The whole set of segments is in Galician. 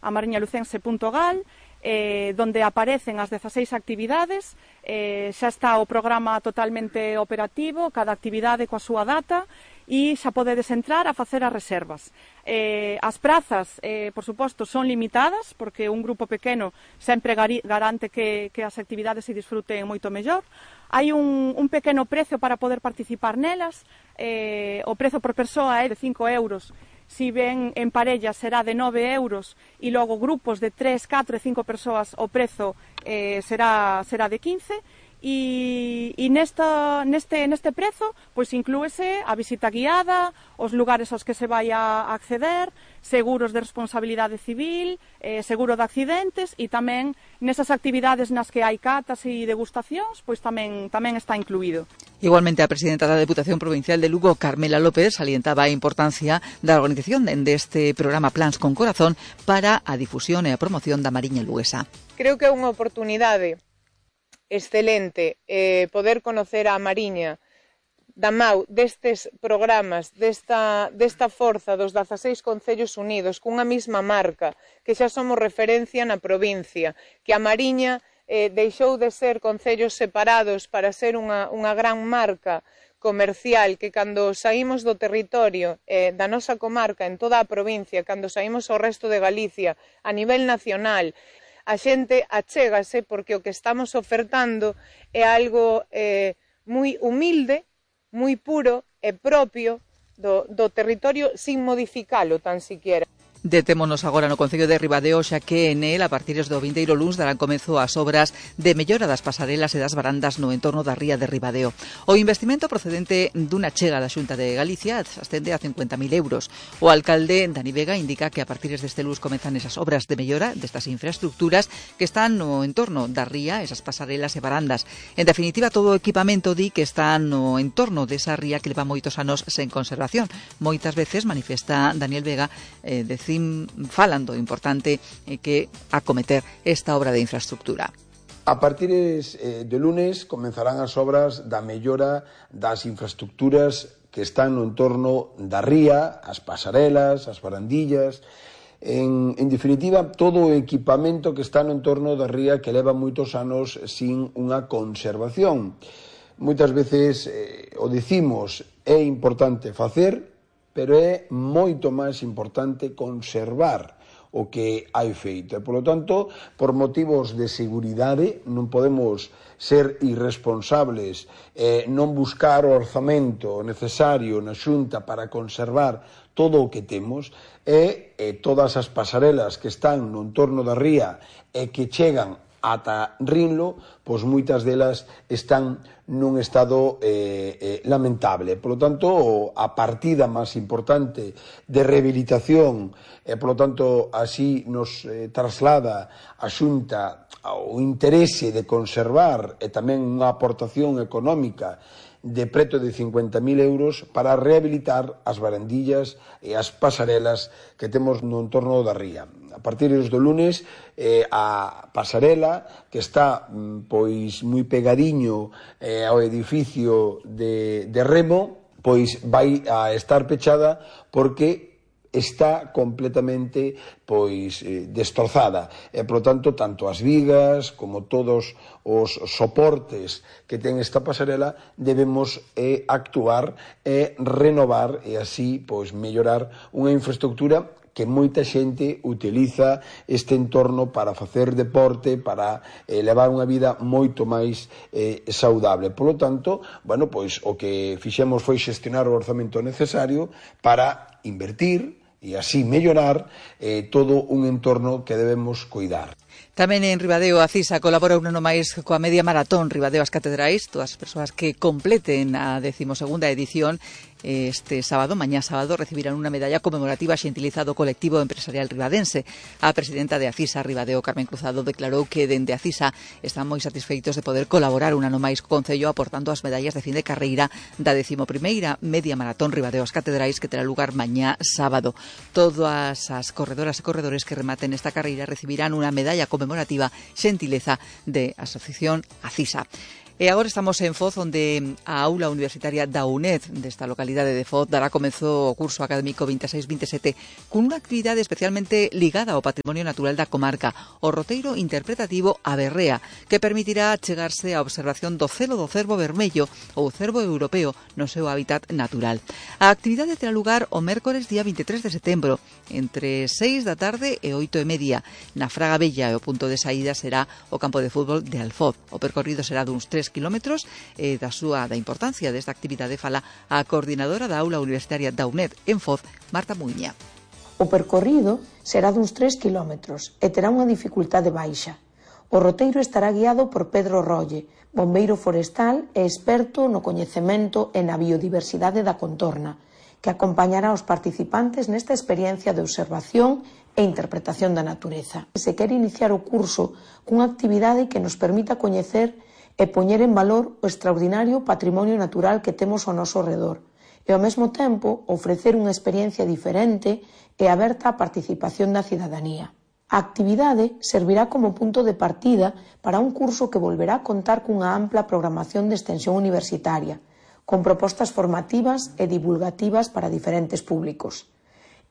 amariñalucense.gal, donde aparecen as 16 actividades. Xa está o programa totalmente operativo, cada actividade coa súa data, e xa podedes entrar a facer as reservas. As prazas, por suposto, son limitadas, porque un grupo pequeno sempre garante que as actividades se disfruten moito mellor. Hai un pequeno prezo para poder participar nelas. O prezo por persoa é de 5 euros. Si ven en parella será de 9 euros e logo grupos de 3, 4 e 5 persoas o prezo será de 15. E neste prezo pois inclúese a visita guiada, os lugares aos que se vai a acceder, seguros de responsabilidade civil, seguro de accidentes, e tamén nesas actividades nas que hai catas e degustacións, pois tamén está incluído. Igualmente, a presidenta da Deputación Provincial de Lugo, Carmela López, salientaba a importancia da organización deste programa Plans con Corazón para a difusión e a promoción da Mariña luguesa. Creo que é unha oportunidade excelente poder conocer a Mariña da mau destes programas, desta forza dos 16 concellos unidos, cunha mesma marca, que xa somos referencia na provincia, que a Mariña deixou de ser concellos separados para ser unha gran marca comercial, que cando saímos do territorio da nosa comarca en toda a provincia, cando saímos ao resto de Galicia a nivel nacional, a xente achégase porque o que estamos ofertando é algo moi humilde, moi puro e propio do territorio sin modificalo tan siquiera. Detémonos agora no Concello de Ribadeo, xa que en el, a partir do vindeiro luns, darán comezo as obras de mellora das pasarelas e das barandas no entorno da ría de Ribadeo. O investimento procedente dunha chega da Xunta de Galicia ascende a 50.000 euros. O alcalde Dani Vega indica que a partir deste luns comezan esas obras de mellora destas infraestructuras que están no entorno da ría, esas pasarelas e barandas. En definitiva, todo o equipamento di que está no entorno desa ría que leva moitos anos sen conservación. Moitas veces, manifesta Daniel Vega, falan do importante que acometer esta obra de infraestructura. A partir de lunes comenzarán as obras da mellora das infraestructuras que están no entorno da ría, as pasarelas, as barandillas, en definitiva todo o equipamento que está no entorno da ría que leva moitos anos sin unha conservación. Moitas veces o dicimos, é importante facer, pero é moito máis importante conservar o que hai feito. E, polo tanto, por motivos de seguridade, non podemos ser irresponsables, non buscar o orzamento necesario na Xunta para conservar todo o que temos, e todas as pasarelas que están no entorno da ría e que chegan ata Rinlo, pois moitas delas están nun estado lamentable. Por lo tanto, a partida máis importante de rehabilitación, por lo tanto, así nos traslada a Xunta o interese de conservar e tamén unha aportación económica de preto de 50.000 euros para rehabilitar as barandillas e as pasarelas que temos no entorno da ría. A partir do lunes, a pasarela, que está pois moi pegadiño ao edificio de Remo, pois vai a estar pechada porque está completamente destrozada. E, por lo tanto, tanto as vigas como todos os soportes que ten esta pasarela debemos actuar e renovar e así mellorar unha infraestructura que moita xente utiliza este entorno para facer deporte, para levar unha vida moito máis saudable. Por lo tanto, o que fixemos foi xestionar o orzamento necesario para invertir e así mellorar todo un entorno que debemos cuidar. Tamén en Ribadeo a CISA colabora un ano máis coa media maratón Ribadeo as Catedrais. Todas as persoas que completen a 12ª edición este sábado, mañá sábado, recibirán unha medalla conmemorativa xentilizada do colectivo empresarial ribadense. A presidenta de ACISA Ribadeo, Carmen Cruzado, declarou que dende ACISA están moi satisfeitos de poder colaborar un ano máis co Concello aportando as medallas de fin de carreira da 11ª media maratón Ribadeo as Catedrais que terá lugar mañá sábado. Todas as corredoras e corredores que rematen esta carreira recibirán unha medalla conmemorativa xentileza de Asociación ACISA. E agora estamos en Foz, onde a aula universitaria da UNED desta localidade de Foz dará comezo o curso académico 26-27 con unha actividade especialmente ligada ao patrimonio natural da comarca, o roteiro interpretativo A Berrea, que permitirá chegarse á observación do celo do cervo vermello ou cervo europeo no seu hábitat natural. A actividade terá lugar o mércores día 23 de setembro, entre 6 da tarde e 8:30, na Fraga Bella, e o punto de saída será o campo de fútbol de Alfoz. O percorrido será duns 3 kilómetros. Da importancia desta actividade fala a coordinadora da aula universitaria da UNED en Foz, Marta Muiña. O percorrido será duns 3 kilómetros e terá unha dificultade baixa. O roteiro estará guiado por Pedro Rolle, bombeiro forestal e experto no coñecemento e na biodiversidade da contorna, que acompañará os participantes nesta experiencia de observación e interpretación da natureza. Se quere iniciar o curso cunha actividade que nos permita coñecer e poñer en valor o extraordinario patrimonio natural que temos ao noso redor e, ao mesmo tempo, ofrecer unha experiencia diferente e aberta á participación da cidadanía. A actividade servirá como punto de partida para un curso que volverá a contar cunha ampla programación de extensión universitaria, con propostas formativas e divulgativas para diferentes públicos.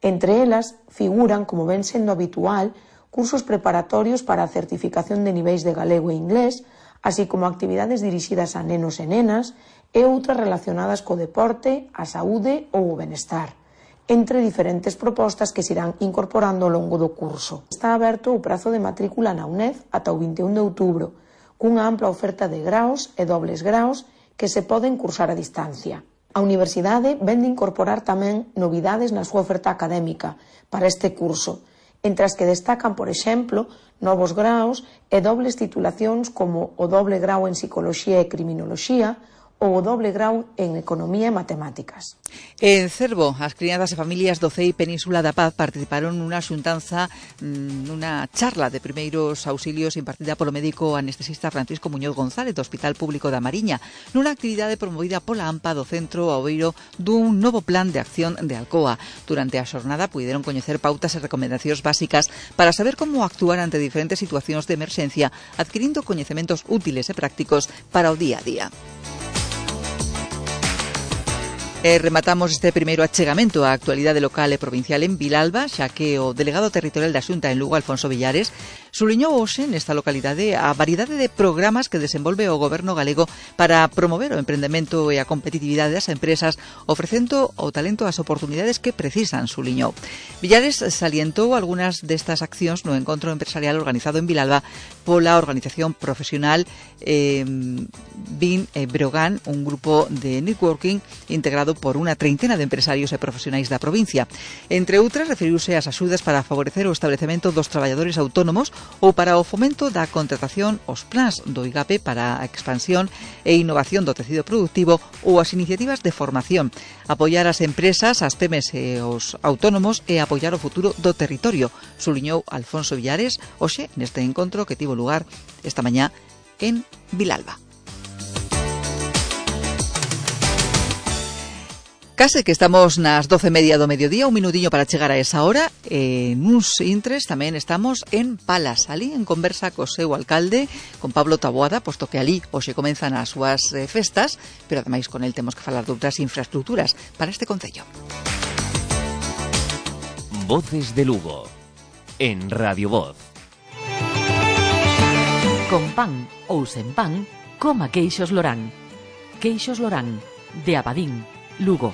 Entre elas figuran, como ven sendo habitual, cursos preparatorios para a certificación de niveis de galego e inglés, así como actividades dirixidas a nenos e nenas e outras relacionadas co deporte, a saúde ou o benestar, entre diferentes propostas que se irán incorporando ao longo do curso. Está aberto o prazo de matrícula na UNED ata o 21 de outubro, cunha ampla oferta de graos e dobles graos que se poden cursar a distancia. A universidade vén de incorporar tamén novidades na súa oferta académica para este curso, entre as que destacan, por exemplo, novos graos e dobles titulacións como o doble grao en Psicoloxía e Criminoloxía ou o doble grau en Economía e Matemáticas. En Cervo, as criadas e familias do CEI Península da Paz participaron nunha xuntanza, nunha charla de primeiros auxilios impartida polo médico anestesista Francisco Muñoz González do Hospital Público da Mariña, nunha actividade promovida pola AMPA do Centro Obeiro dun novo plan de acción de Alcoa. Durante a xornada puideron coñecer pautas e recomendacións básicas para saber como actuar ante diferentes situacións de emerxencia, adquirindo coñecementos útiles e prácticos para o día a día. Rematamos este primeiro achegamento á actualidade local e provincial en Vilalba, xa que o delegado territorial da Xunta en Lugo, Alfonso Villares, subliñou hoxe nesta localidade a variedade de programas que desenvolve o goberno galego para promover o emprendemento e a competitividade das empresas, ofrecendo ao talento as oportunidades que precisan, subliñou. Villares salientou algunhas destas accións no encontro empresarial organizado en Vilalba pola organización profesional BIN Brogan, un grupo de networking integrado por unha treintena de empresarios e profesionais da provincia. Entre outras, referiuse ás axudas para favorecer o establecemento dos traballadores autónomos ou para o fomento da contratación, os plans do IGAPE para a expansión e innovación do tecido productivo ou as iniciativas de formación. Apoiar as empresas, as PEMES e os autónomos e apoiar o futuro do territorio, subliñou Alfonso Villares hoxe neste encontro que tivo lugar esta mañá en Vilalba. Case que estamos nas 12:30 do mediodía, un minutiño para chegar a esa hora. Nuns intres tamén estamos en Palas, ali en conversa co seu alcalde, con Pablo Taboada, posto que ali hoxe comenzan as súas festas, pero ademais con el temos que falar de outras infraestructuras para este concello. Voces de Lugo, en Radio Voz. Con pan ou sen pan, coma queixos Lorán. Queixos Lorán, de Abadín, Lugo.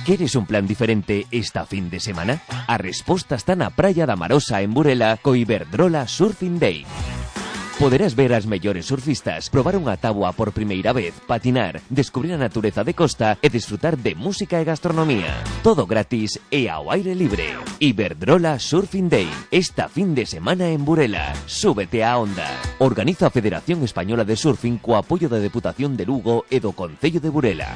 Queres un plan diferente esta fin de semana? A resposta está na Praia da Marosa en Burela co Iberdrola Surfing Day. Poderás ver as mellores surfistas, probar unha táboa por primeira vez, patinar, descubrir a natureza de costa e disfrutar de música e gastronomía. Todo gratis e ao aire libre. Iberdrola Surfing Day, esta fin de semana en Burela. Súbete á onda. Organiza a Federación Española de Surfing co apoio da Deputación de Lugo e do Concello de Burela.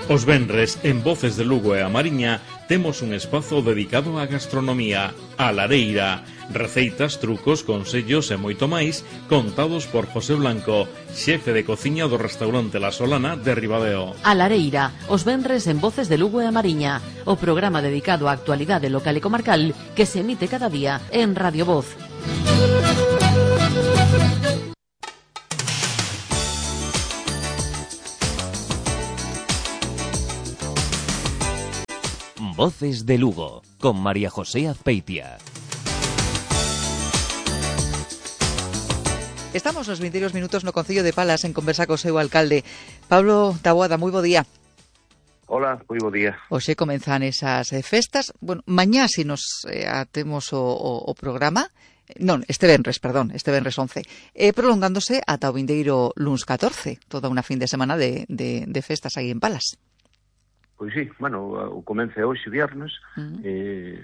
Os venres, en Voces de Lugo e a Mariña, temos un espazo dedicado á gastronomía, a lareira. Receitas, trucos, consellos e moito máis contados por José Blanco, xefe de cociña do restaurante La Solana de Ribadeo. A lareira, os venres en Voces de Lugo e a Mariña, o programa dedicado á actualidade local e comarcal que se emite cada día en Radio Voz. Voces de Lugo, con María José Azpeitia. Estamos nos 22 minutos no Concello de Palas en conversa co seu alcalde. Pablo Taboada, moi bo día. Hola, moi bo día. Hoxe comenzan esas festas. Bueno, mañá si nos atemos o programa, non, este venres 11, prolongándose ata o vindeiro luns 14, toda unha fin de semana de festas aí en Palas. Pois sí, bueno, o comece hoxe viernes,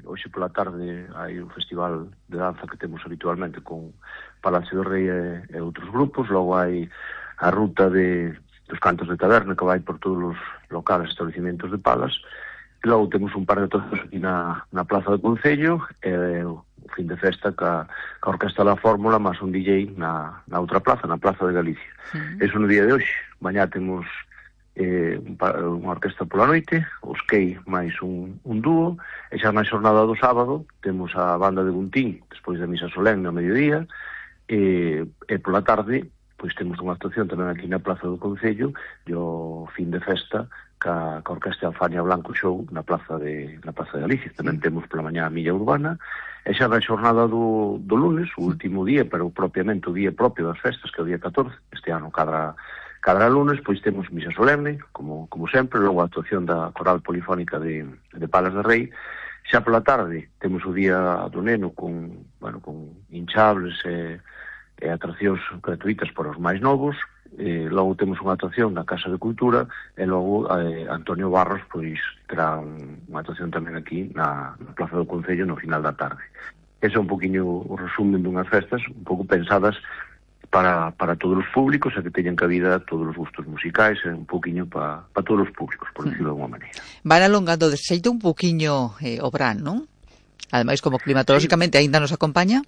hoxe pola tarde hai un festival de danza que temos habitualmente con Palacio do Rei e outros grupos, logo hai a ruta dos cantos de taberna que vai por todos os locales e establecimentos de Palas, e logo temos un par de todos aquí na Plaza do Concello, e o fin de festa ca Orquesta da Fórmula, máis un DJ na outra plaza, na Plaza de Galicia. Eso no día de hoxe. Mañá temos unha orquesta pola noite, os Key máis un dúo, e xa na xornada do sábado temos a banda de Guntín despois da misa solemne ao mediodía, e pola tarde pois temos unha actuación tamén aquí na Plaza do Concello e o fin de festa ca orquesta Alfania Blanco Show na Plaza de Galicia. Tamén temos pola mañá a milla urbana, e xa na xornada do lunes, o último día, pero propiamente o día propio das festas, que é o día 14, este ano cada lunes, pois temos misa solemne, como sempre, logo a actuación da Coral Polifónica de Palas de Rei. Xa pola tarde temos o día do neno con hinchables e atraccións gratuitas para os máis novos, logo temos unha actuación na Casa de Cultura, e logo Antonio Barros pois terá unha actuación tamén aquí na Plaza do Concello no final da tarde. Ese é un poquinho o resumen dunhas festas un pouco pensadas para todos os públicos, e que teñan cabida todos os gustos musicais, e un poquinho para todos os públicos, por decirlo de alguma maneira. Van alongando de xeito un poquinho o verán, non? Ademais, como climatolóxicamente aínda nos acompaña.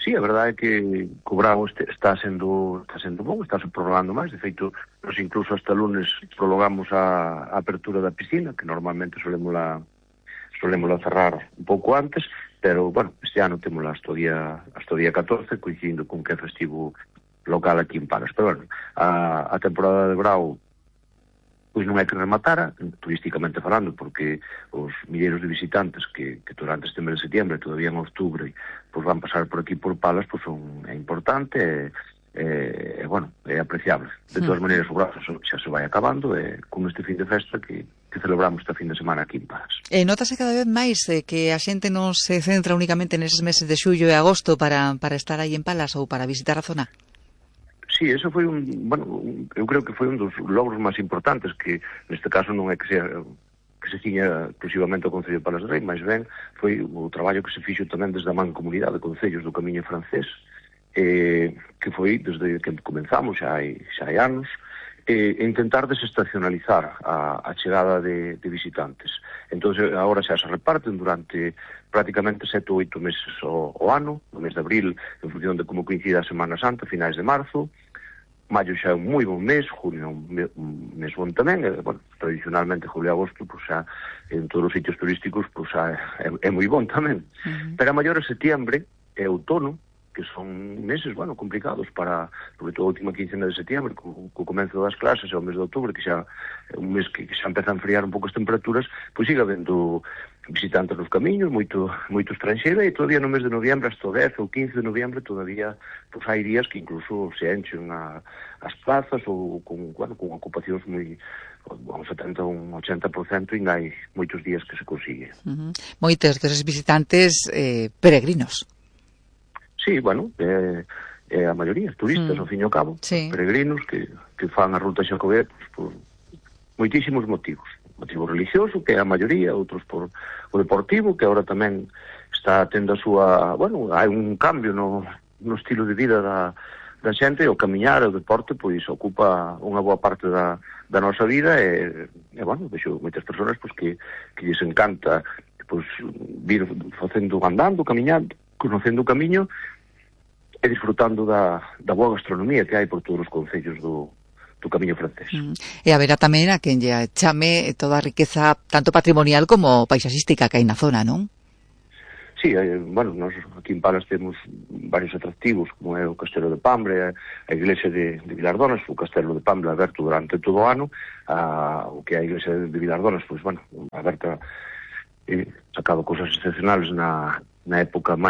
Sí, a verdade é que o verán está sendo bon, está se prolongando máis. De feito, nos incluso hasta lunes prolongamos a apertura da piscina, que normalmente solemos cerrar un pouco antes, pero, bueno, este ano temos hasta o día 14, coincidindo con que é festivo local aquí en Palas. Pero, bueno, a temporada de verão pois non hai que rematara, turísticamente falando, porque os milleiros de visitantes que durante este mes de setembro, todavía en outubro, pois van pasar por aquí por Palas, pois é importante, bueno, é apreciable. De todas maneiras, o brazo xa se vai acabando, con este fin de festa que celebramos este fin de semana aquí en Palas. Notase cada vez máis que a xente non se centra únicamente neses meses de xullo e agosto para estar aí en Palas ou para visitar a zona? Sí, eso foi eu creo que foi un dos logros máis importantes, que neste caso non é que se ciña exclusivamente ao Concello de Palas de Rei, máis ben foi o traballo que se fixo tamén desde a Mancomunidade de Concellos do Camiño Francés, que foi desde que comenzamos xa hai anos, intentar desestacionalizar a chegada de visitantes. Entón, agora xa se reparten durante prácticamente 7 ou 8 meses ao ano, no mes de abril, en función de como coincida a Semana Santa, finais de marzo. Maio xa é un moi bon mes, junio é un mes bon tamén, tradicionalmente julio e agosto, pois xa en todos os sitios turísticos, pois xa é moi bon tamén. Pero a maior é setiembre e outono, que son meses, complicados para, sobre todo a última quincena de setembro, co comenzo das clases, e o mes de outubro, que xa é un mes que xa empeza a enfriar un pouco as temperaturas, pois sigue habendo visitantes nos camiños, moito estranxeiro, e todavía no mes de noviembre, hasta o 10 ou 15 de noviembre, todavía pois hai días que incluso se enchen as plazas, ou con ocupacións moi, un 70 ou un 80%, e hai moitos días que se consigue. Moitos deses visitantes peregrinos. Sí, é a maioría, turistas, ao fin e ao cabo, peregrinos que fan a ruta xacobea por moitísimos motivos. Motivo religioso, que é a maioría, outros por o deportivo, que agora tamén está tendo a súa... hai un cambio no estilo de vida da xente, o camiñar, o deporte, pois ocupa unha boa parte da nosa vida e bueno, vexo moitas persoas pois, que lles encanta pois, vir andando, camiñando, conocendo o camiño e disfrutando da boa gastronomía que hai por todos os concellos do Camiño Francés. E haberá tamén a quen lle chame toda a riqueza tanto patrimonial como paisaxística que hai na zona, non? Sí, bueno, nós aquí en Palas temos varios atractivos, como é o Castelo de Pambre, a iglesia de Vilardonas, o Castelo de Pambre aberto durante todo o ano, o que é a iglesia de Vilardonas, pois, bueno, aberta, sacado cousas excepcionales na época de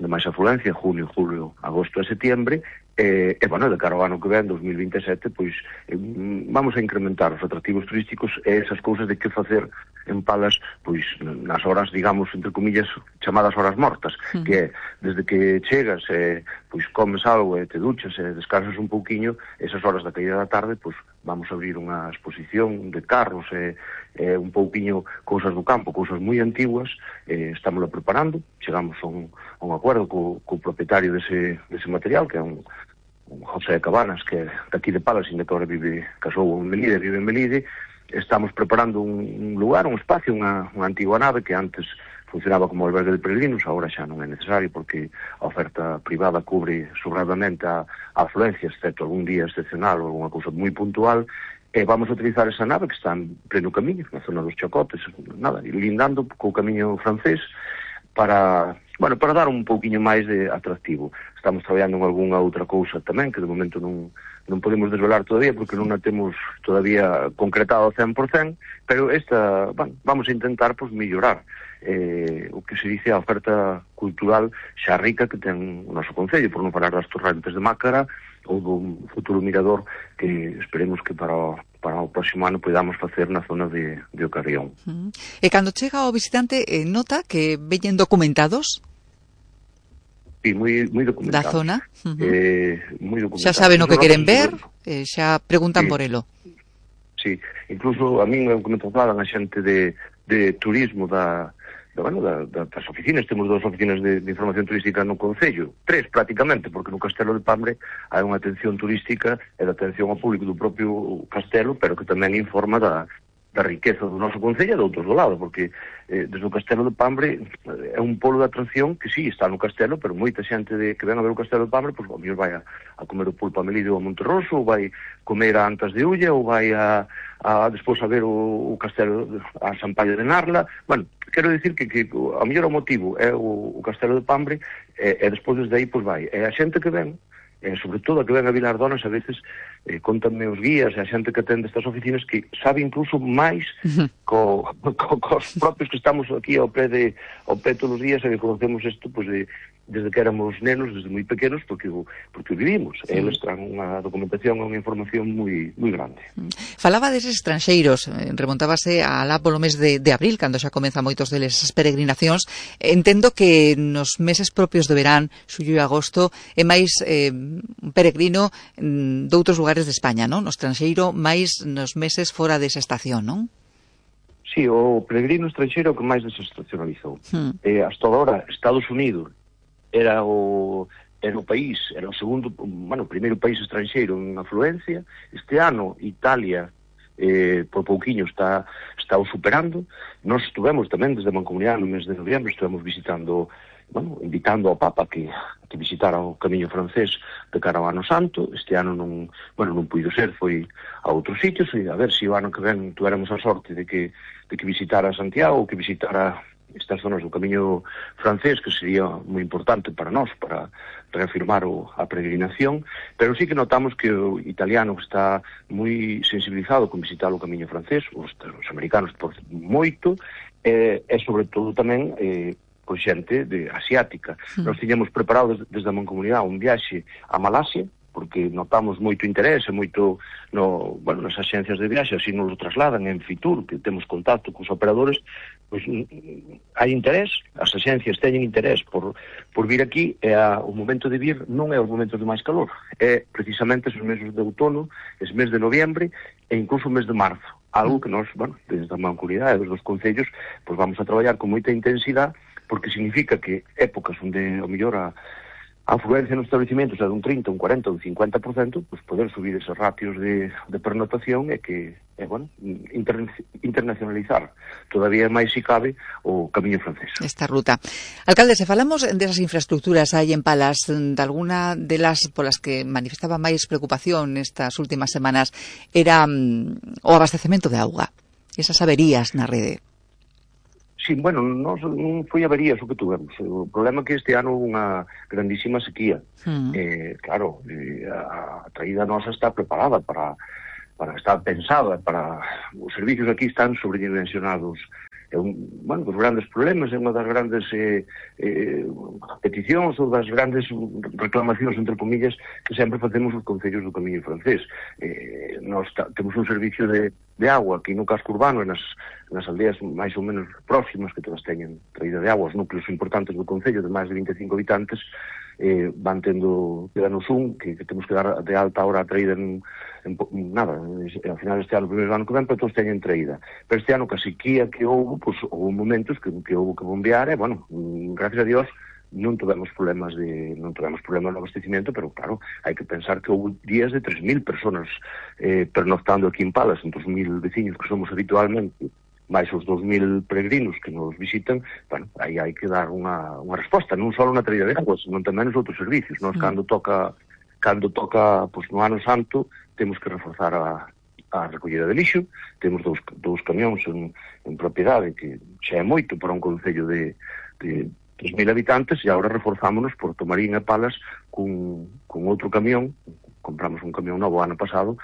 máis afluencia, junio, julio, agosto e setiembre, e, bueno, de cara ao ano que ven, 2027, pois, vamos a incrementar os atractivos turísticos e esas cousas de que facer en Palas, pois, nas horas, digamos, entre comillas, chamadas horas mortas, que é, desde que chegas, pois, comes algo e te duchas e descansas un pouquiño, esas horas da caída da tarde, pois, vamos a abrir unha exposición de carros e un pouquiño cousas do campo, cousas moi antiguas, estámoslo preparando, chegamos a un acordo co propietario dese material, que é un José Cabanas, que é daqui de Palas, ainda que agora casou en Melide, vive en Melide. Estamos preparando un lugar, un espacio, unha antigua nave que antes funcionaba como albergue de peregrinos, agora xa non é necesario porque a oferta privada cubre sobradamente a afluencia, excepto algún día excepcional ou alguna cousa moi puntual, e vamos a utilizar esa nave que está en pleno camiño, na zona dos Chacotes, lindando co camiño francés, para dar un pouquiño máis de atractivo. Estamos traballando en algunha outra cousa tamén, que de momento non podemos desvelar todavía, porque non a temos todavía concretado ao 100%, pero vamos a intentar mellorar o que se dice a oferta cultural xa rica que ten o noso concello, por non falar das Torrentes de Mácara ou dun futuro mirador que esperemos que para o próximo ano podamos facer na zona de Ocarrión. E cando chega o visitante, nota que veñen documentados? Sí, moi documentados. Da zona? Moi documentados. Xa saben o que queren ver, xa preguntan por elo. Sí, incluso a min me comentaban a xente de turismo das oficinas. Temos 2 oficinas de información turística no concello, 3 prácticamente, porque no Castelo de Pambre hai unha atención turística e de atención ao público do propio castelo, pero que tamén informa da riqueza do noso concello e de outros do lado, porque desde o Castelo de Pambre é un polo de atracción que sí, está no castelo, pero moita xente que ven a ver o Castelo de Pambre, pois ao mellor vai a comer o pulpo a Melide ou a Monterroso, ou vai comer a Antas de Ulla, ou vai despois a ver o Castelo a Sampaio de Narla. Bueno, quero dicir que ao mellor o motivo é o Castelo de Pambre e despois desde aí pois vai. E a xente que ven, sobre todo a que ven a Vilardonas, a veces contanme os guías e a xente que atende estas oficinas que sabe incluso máis cos propios que estamos aquí ao pé todos os días e que conocemos isto desde que éramos nenos, desde moi pequenos, porque vivimos. Eles traen unha documentación e unha información moi grande. Falaba deses estranxeiros, remontábase alá polo mes de abril, cando xa comeza moitos deles as peregrinacións. Entendo que nos meses propios de verán, xullo e agosto, é máis un peregrino doutros lugares de España, non? No estranxeiro, máis nos meses fora desa estación, non? Sí, o peregrino estranxeiro que máis desestacionalizou. Hasta agora, Estados Unidos era o país, era o segundo, o primeiro país estranxeiro en afluencia. Este ano, Italia, por pouquiño está o superando. Nós estuvemos tamén desde a Mancomunidade no mes de noviembre, estuvemos visitando, invitando ao Papa que visitara o Camiño Francés de cara ao Ano Santo. Este ano non puido ser, foi a outros sitios, e a ver se o ano que ven tuéramos a sorte de que visitara Santiago, que visitara estas zonas do Camiño Francés, que sería moi importante para nós, para reafirmar a peregrinación. Pero sí que notamos que o italiano está moi sensibilizado con visitar o Camiño Francés, os americanos por moito, e sobre todo tamén con xente asiática. Nós tiñamos preparado desde a Mancomunidade un viaxe a Malasia, porque notamos moito interés e moito nas axencias de viaxe, así nos lo trasladan en Fitur, que temos contacto cos operadores, pois hai interés, as axencias teñen interés por vir aquí, e o momento de vir non é os momentos de máis calor, é precisamente os meses de outono, os meses de noviembre e incluso o mes de marzo, algo que nós, desde a Mancomunidade, desde os concellos, pois vamos a traballar con moita intensidade, porque significa que épocas onde, ao mellor, a a afluencia nos estabelecimentos é dun 30, un 40, un 50%, pois poder subir esos ratios de pernotación e que, bueno, internacionalizar todavía máis si cabe o camiño francés. Esta ruta. Alcalde, se falamos desas infraestructuras aí en Palas, de alguna delas polas que manifestaba máis preocupación estas últimas semanas era o abastecemento de auga, esas averías na rede. Sí, bueno, non foi averías o que tuvemos. O problema é que este ano houve unha grandísima sequía. Claro, a traída nosa está preparada para estar pensada para... Os servicios aquí están sobredimensionados. Bueno, dos grandes problemas, é unha das grandes peticións ou das grandes reclamacións, entre comillas, que sempre facemos os concellos do Camiño Francés. Nós temos un servicio de agua aquí no casco urbano e nas aldeas máis ou menos próximas que todas teñen traída de agua. Os núcleos importantes do concello de máis de 25 habitantes van tendo, quedanos que temos que dar de alta ahora a traída nada, ao final deste ano, o primeiro ano que ven, pero todos teñen traída. Pero este ano, que a sequía que houve, pois, houve momentos que houve que bombear, e, bueno, gracias a Dios, non tivemos problemas de abastecimiento, pero, claro, hai que pensar que houve días de 3.000 personas pernoctando aquí en Palas, entre os 1.000 veciños que somos habitualmente, máis os 2.000 peregrinos que nos visitan, bueno, aí hai que dar unha resposta, non só na traída de agua, senón tamén nos outros servicios. Nós, cando toca, pois, no ano santo, temos que reforzar a recollida de lixo, temos dous camións en propiedade, que xa é moito para un concello de 3.000 habitantes, e agora reforzámonos por Tomarín e Palas con outro camión. Compramos un camión novo ano pasado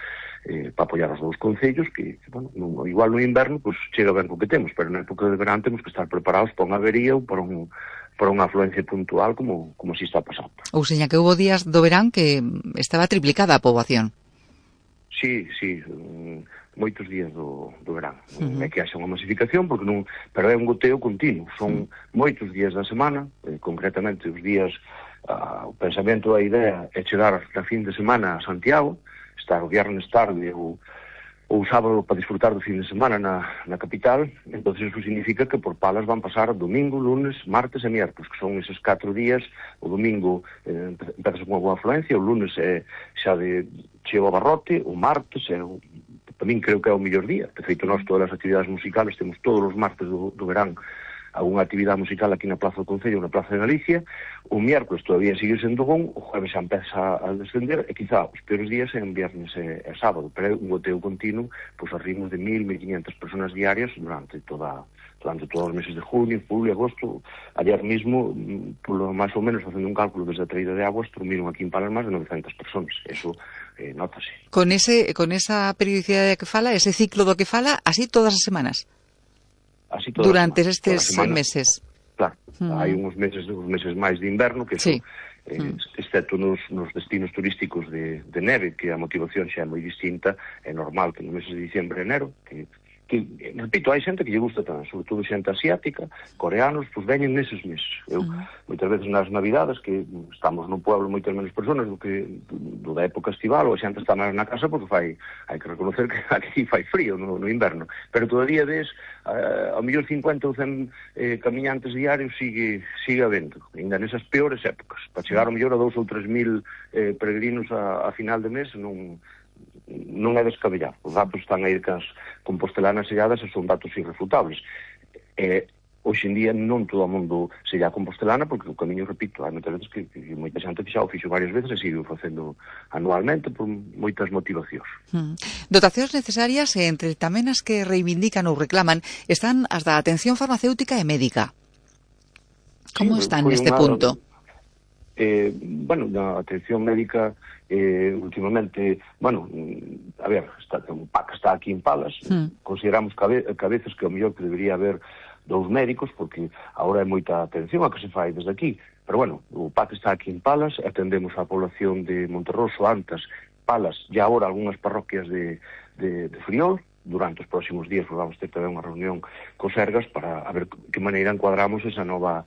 para apoiar os dous concellos, que, bueno, igual no inverno, pues, chega ben co que temos, pero na época de verán temos que estar preparados para unha avería ou para unha afluencia puntual como así está pasando. Ou seña que houve días do verán que estaba triplicada a poboación. Sí, moitos días do verán. É que haxa unha masificación, pero é un goteo continuo. Son moitos días da semana, concretamente os días, o pensamento, a idea é chegar na fin de semana a Santiago, estar o viernes tarde ou sábado para disfrutar do fin de semana na capital. Entón, iso significa que por Palas van pasar domingo, lunes, martes e miércoles, que son eses 4 días. O domingo empezas con unha boa afluencia, o lunes xa chego a barrote, o martes para min creo que é o mellor día. De feito, nós todas as actividades musicales temos todos os martes do verán alguna actividade musical aquí na Plaza do Concello, na Plaza de Galicia. O miércoles todavía sigue sendo bon, o jueves xa empeza a descender, e quizá os peores días en viernes e sábado, pero é un goteo continuo, pois a ritmos de 1.000-1.500 personas diarias durante todos os meses de junio, julio, agosto. Ayer mismo, polo máis ou menos, facendo un cálculo desde a traída de aguas, dormiron aquí en Palas máis de 900 personas. Eso notase. Con esa periodicidade que fala, ese ciclo do que fala, así todas as semanas? Así todas durante as estes meses. Claro, hai uns meses máis de inverno, que sí. Excepto nos destinos turísticos de neve, que a motivación xa é moi distinta, é normal que nos meses de diciembre e enero, que repito, hai xente que lle gusta tamén, sobre todo xente asiática, coreanos, pois veñen neses meses. Eu, moitas veces nas navidades, que estamos no pueblo moitas menos personas do da época estival, ou a xente está máis na casa, porque hai que reconocer que aquí fai frío no inverno, pero todavía ao mellor 50 ou 100 camiñantes diarios sigue habendo, ainda nesas peores épocas. Para chegar ao mellor a 2 ou 3.000 peregrinos a final de mes non é descabellado. Os datos están aí que as compostelanas selladas e son datos irrefutables. Hoxe en día non todo o mundo sella compostelana, porque o camiño, repito, hai moitas veces que moita xente xa o fixo varias veces e sigue facendo anualmente por moitas motivacións. Dotacións necesarias, entre tamén as que reivindican ou reclaman, están as da atención farmacéutica e médica. Como están neste punto? Bueno, na atención médica últimamente, bueno, a ver, o PAC está aquí en Palas, consideramos que a veces que o mellor que debería haber 2 médicos, porque agora é moita atención a que se fai desde aquí, pero bueno, o PAC está aquí en Palas, atendemos a población de Monterroso, Antas, Palas, e agora algunhas parroquias de Friol. Durante os próximos días vamos ter tamén unha reunión co Sergas para a ver que maneira encuadramos esa nova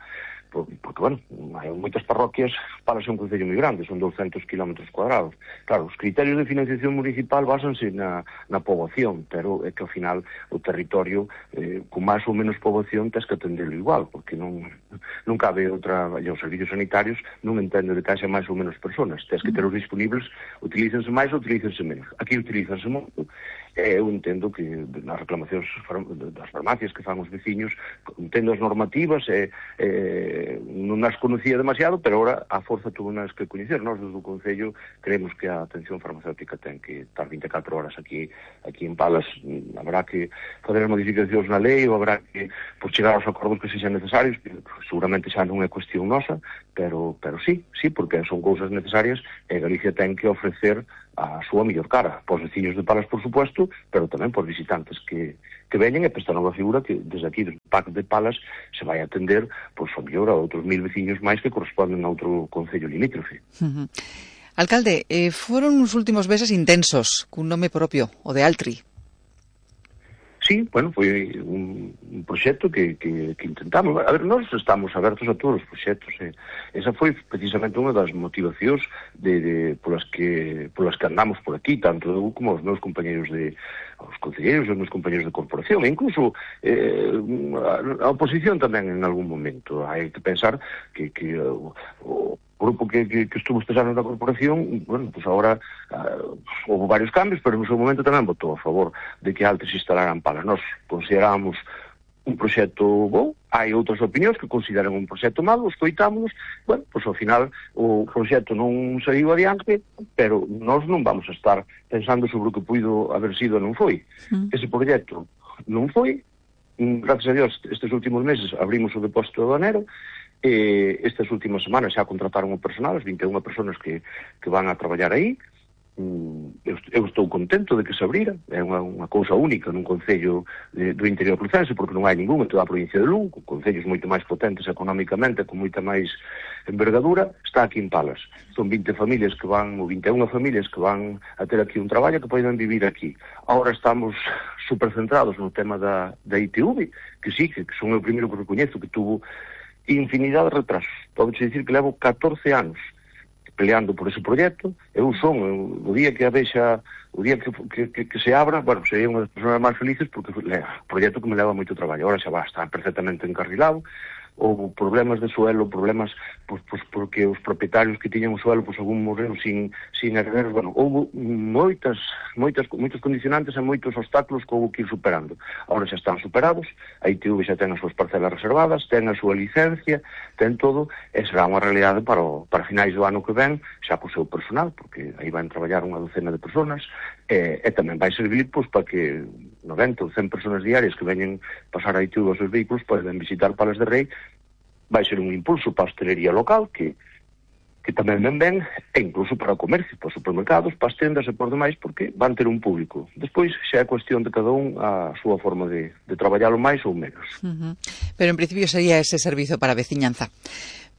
porque, bueno, hai moitas parroquias, Palas é un concello moi grande, son 200 km cuadrados. Claro, os criterios de financiación municipal basanse na poboación, pero é que ao final o territorio, con máis ou menos poboación, tens que atendelo igual, porque non cabe outra, e os servicios sanitarios non entenden de que haxa máis ou menos personas, tens que ter os disponibles, utilícense máis ou utilícense menos. Aquí utilícense moito. Eu entendo que nas reclamacións das farmacias que fan os veciños, entendo as normativas, non as conocía demasiado, pero ahora a forza tuvo nas que coñecer. Nós, desde o Concello, creemos que a atención farmacéutica ten que estar 24 horas aquí en Palas. Habrá que fazer as modificacións na lei, ou habrá que chegar aos acordos que sexan necesarios, que seguramente xa non é cuestión nosa, pero sí, porque son cousas necesarias, e Galicia ten que ofrecer a súa mellor cara, pos veciños de Palas, por supuesto, pero tamén por visitantes que veñen, e esta nova figura que desde aquí, desde o PAC de Palas, se vai atender, pois, a mellor a outros 1000 veciños máis que corresponden a outro concello limítrofe. Alcalde, foron uns últimos meses intensos, cun nome propio, o de Altri. Sí, bueno, foi un proxecto que intentamos. A ver, nós estamos abertos a todos os proxectos. Esa foi precisamente unha das motivacións polas que andamos por aquí, tanto eu como os meus compañeros os concelleiros e os meus compañeros de corporación, e incluso a oposición tamén en algún momento. Hai que pensar que o grupo que estuvo estes anos na corporación, bueno, pues agora houve varios cambios, pero no seu momento tamén votou a favor de que Altri se instalara en Palas. Nós considerábamos un proxecto bom, hai outras opinións que consideran un proxecto malo, escoitámonos, bueno, pois ao final o proxecto non saiu adiante, pero nós non vamos a estar pensando sobre o que puido haber sido e non foi. Ese proxecto non foi, gracias a Dios, estes últimos meses abrimos o depósito de Banero, estas últimas semanas xa contrataron o personal, as 21 personas que van a traballar aí. Eu estou contento de que se abrira, é unha cousa única nun concello do interior crucense, porque non hai ningún en toda a provincia de Lugo, con concellos moito máis potentes económicamente, con moita máis envergadura, está aquí en Palas. Son 20 familias que van, ou 21 familias que van a ter aquí un traballo que poden vivir aquí. Ahora estamos supercentrados no tema da ITV, que sí, que son o primeiro que recoñezo, que tuvo infinidade de retrasos. Podo dicir que levo 14 anos peleando por ese proxecto. Eu son, o día que a vexa, o día que se abra, bueno, sería unha das persoas máis felices, porque é un proxecto que me leva moito traballo. Ahora xa va, está perfectamente encarrilado. Houve problemas de suelo, problemas porque os propietarios que tiñan o suelo, algún morreron sin herederos. Bueno, houve moitos condicionantes e moitos obstáculos que houve que ir superando. Ahora xa están superados, a ITV xa ten as súas parcelas reservadas, ten a súa licencia, ten todo, e será unha realidade para finais do ano que ven, xa co seu personal, porque aí van traballar unha docena de personas, e tamén vai servir para que 90 ou 100 personas diarias que veñen pasar a ITV aos seus vehículos poden visitar Palas de Rei. Vai ser un impulso para a hostelería local que tamén ben, e incluso para o comercio, para os supermercados, para as tendas e por demais, porque van ter un público. Despois xa é cuestión de cada un a súa forma de traballalo máis ou menos. Pero en principio sería ese servizo para a veciñanza.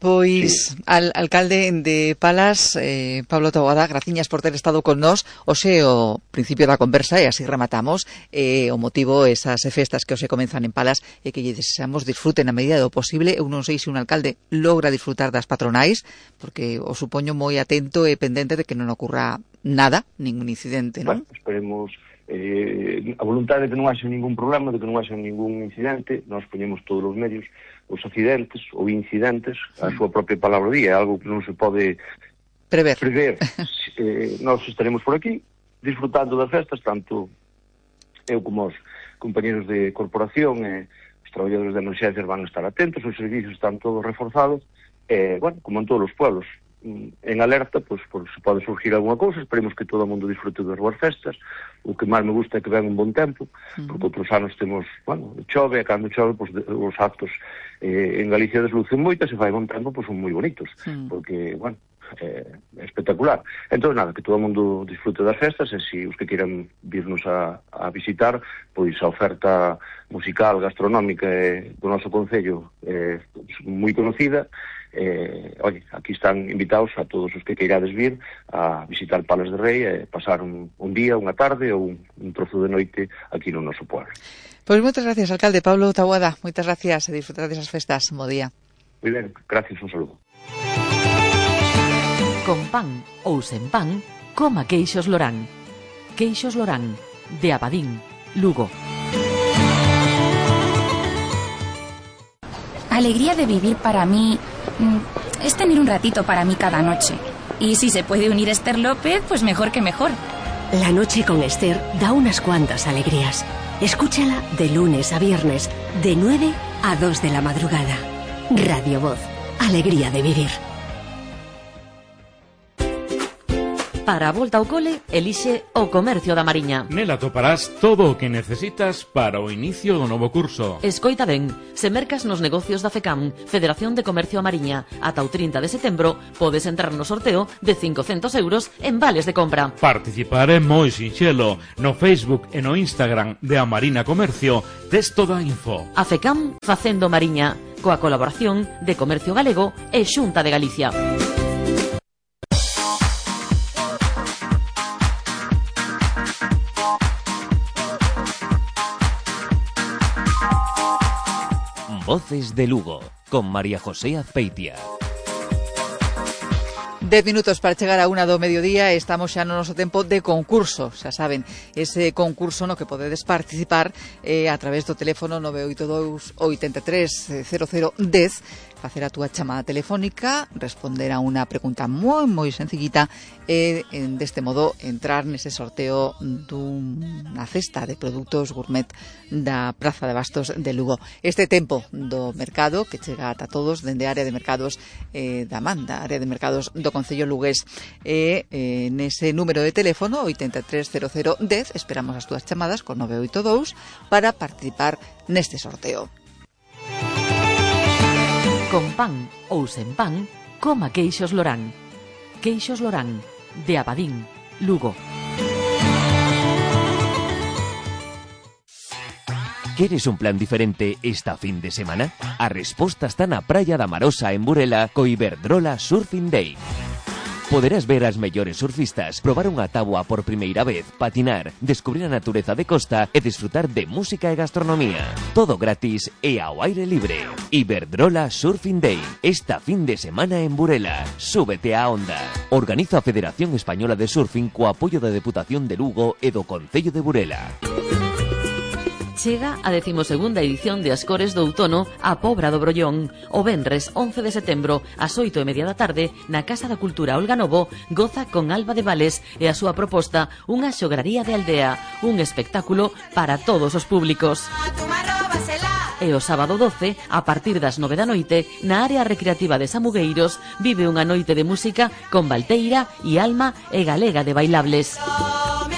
Pois, sí. Alcalde de Palas, Pablo Taboada, graciñas por ter estado con nós. Hoxe o principio da conversa, e así rematamos, o motivo esas festas que hoxe comenzan en Palas e que lle desexamos disfruten na medida do posible. Eu non sei se un alcalde logra disfrutar das patronais, porque o supoño moi atento e pendente de que non ocurra nada, ningún incidente, non? Bueno, esperemos a voluntade de que non haxa ningún problema, de que non haxa ningún incidente. Nós poñemos todos os medios. Os accidentes ou incidentes, a súa propia palabra día, é algo que non se pode prever. Nós estaremos por aquí disfrutando das festas, tanto eu como os compañeros de corporación e os traballadores de emergencias van a estar atentos, os servicios están todos reforzados, bueno, como en todos os pueblos, en alerta, pois se pode surgir alguna cousa. Esperemos que todo o mundo disfrute das boas festas. O que máis me gusta é que ven un bon tempo, porque outros anos temos, bueno, chove, e cando chove, pois os actos en Galicia deslucen moito, e se fai bon tempo, pois son moi bonitos, porque, bueno, é espectacular. Entón, nada, que todo o mundo disfrute das festas, e se os que queiran virnos a visitar, pois a oferta musical, gastronómica do noso concello é moi conocida. Oye, aquí están invitados a todos os que queirades vir a visitar Palas de Rei e pasar un día, unha tarde ou un trozo de noite aquí no noso pueblo. Pois moitas gracias, alcalde Pablo Taboada. Moitas gracias e disfrutar desas festas. Bo día. Moi ben, gracias, un saludo. Con pan ou sen pan, coma queixos Lorán. Queixos Lorán, de Abadín, Lugo. Alegría de vivir para mí es tener un ratito para mí cada noche. Y si se puede unir Esther López, pues mejor que mejor. La noche con Esther da unas cuantas alegrías. Escúchala de lunes a viernes, de 9 a 2 de la madrugada. Radio Voz, alegría de vivir. Para a volta ao cole, elixe o Comercio da Mariña. Nela toparás todo o que necesitas para o inicio do novo curso. Escoita ben, se mercas nos negocios da FECAM, Federación de Comercio a Mariña, ata o 30 de setembro, podes entrar no sorteo de 500 euros en vales de compra. Participar é moi sinxelo. No Facebook e no Instagram de A Marina Comercio tes toda a info. A FECAM facendo Mariña, coa colaboración de Comercio Galego e Xunta de Galicia. Voces de Lugo, con María José Azpeitia. 10 minutos para chegar a 1 do mediodía. Estamos xa no noso tempo de concurso. Xa saben, ese concurso no que podedes participar a través do teléfono 982 83 00 10, facer a túa chamada telefónica, responder a unha pregunta moi sencillita e deste modo entrar nese sorteo dunha cesta de produtos gourmet da Praza de Bastos de Lugo. Este tempo do mercado que chega ata todos dende a área de mercados da Manda, área de mercados do Concello lugués, nese número de teléfono 830010 esperamos as túas chamadas con 982 para participar neste sorteo. Con pan ou sen pan, coma queixos Lorán. Queixos Lorán, de Abadín, Lugo. Queres un plan diferente esta fin de semana? A resposta está na Praia da Marosa en Burela co Iberdrola Surfing Day. Poderás ver as mellores surfistas, probar unha táboa por primeira vez, patinar, descubrir a natureza de costa e disfrutar de música e gastronomía. Todo gratis e ao aire libre. Iberdrola Surfing Day, esta fin de semana en Burela. Súbete á onda. Organiza a Federación Española de Surfing co apoio da Deputación de Lugo e do Concello de Burela. Chega a 12ª edición de Ascores do Outono a Pobra do Brollón. O venres 11 de setembro, ás 8:30 da tarde, na Casa da Cultura Olga Novo, goza con Alba de Vales e a súa proposta unha xograría de aldea, un espectáculo para todos os públicos. E o sábado 12, a partir das 9 da noite, na área recreativa de Samugueiros, vive unha noite de música con Valteira e Alma e Galega de Bailables.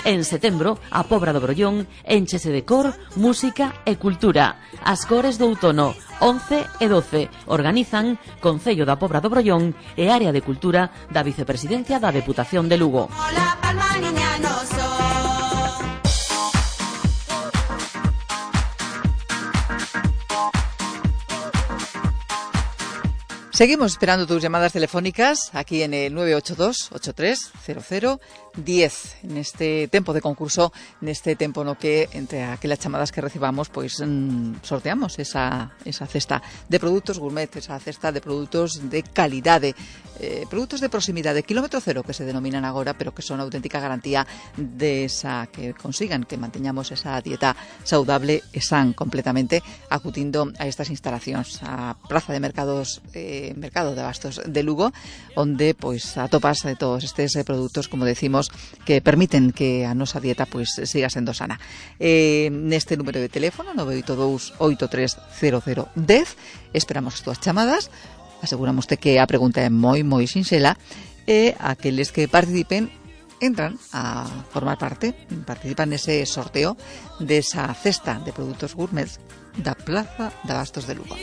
En setembro, a Pobra do Brollón énchese de cor, música e cultura. Ascores do Outono, 11 e 12, organizan Concello da Pobra do Brollón e Área de Cultura da Vicepresidencia da Deputación de Lugo. Seguimos esperando tus llamadas telefónicas aquí en el 982 83 00 10 en este tempo de concurso, neste tempo no que entre aquelas chamadas que recibamos pois sorteamos esa cesta de produtos gourmet, esa cesta de produtos de calidade, produtos de proximidade, kilómetro cero que se denominan agora, pero que son auténtica garantía de esa que consigan que manteñamos esa dieta saudable e san completamente acutindo a estas instalacións, a Praza de Mercados Mercado de Bastos de Lugo, onde pois atopas de todos estes produtos, como decimos, que permiten que a nosa dieta pois siga sendo sana. Neste número de teléfono 982 830010 esperamos as túas chamadas. Aseguramos que a pregunta é moi sinxela e aqueles que participen entran a formar parte, participan nese sorteo desa cesta de produtos gourmet da Praza de Bastos de Lugo.